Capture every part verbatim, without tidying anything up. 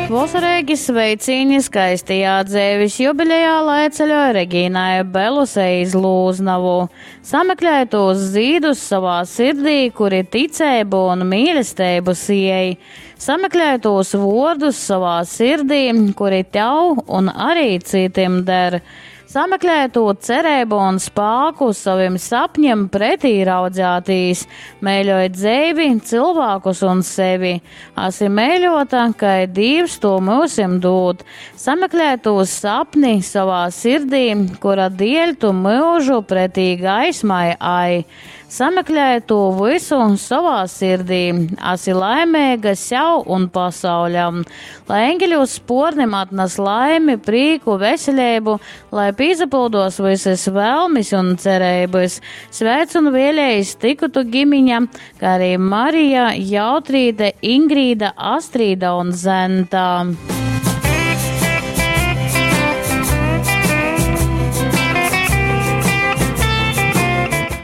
Vosareigi sveicīni skaistajā dzeivis jubilejā lai ceļoj Regīnai Belusei iz Lūznovu. Sameklē tūs zīdus savā sirdī, kuri ticeibu un mīlesteibu siej. Sameklē tūs vuordus savā sirdī, kuri tev un arī citim der. Sameklē tū cereibu un spāku savim sapņiem pretī raudzētīs. Mēļoj dzeivi, cilvēkus un sevi. Asi mēļota, kai Dīvs to myusim dūd. Sameklē tū sapni savā sirdī, kura dieļ tu myužu pretī gaismai ai. Sameklē to visu savā sirdī, asi laimīga sev un pasauļam. Lai eņģeļu spornim atnes laimi, prīku, veselību, lai pīzapildos visas vēlmis un cerības. Sveic un vēlējas tikutu gimiņa, kā arī Marija, Jautrīte, Ingrīda, Astrīda un Zenta.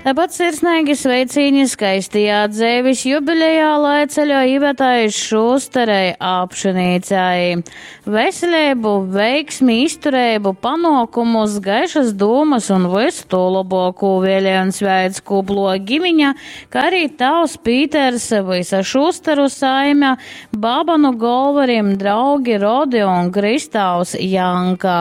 Tāpat sirsnīgi sveicīņi skaistajā dzeivis jubilejā, lai ceļo Ivetai Šusterei Apšenīcai. Veselību, veiksmi, izturību, panokumus, gaišas dūmas un visu to labāko vēlē un sveic kuplo gimiņa, kā arī tavs Pīters, visa Šusteru saime, Babanu Golvarim, draugi Rodi un Kristāvs Janka.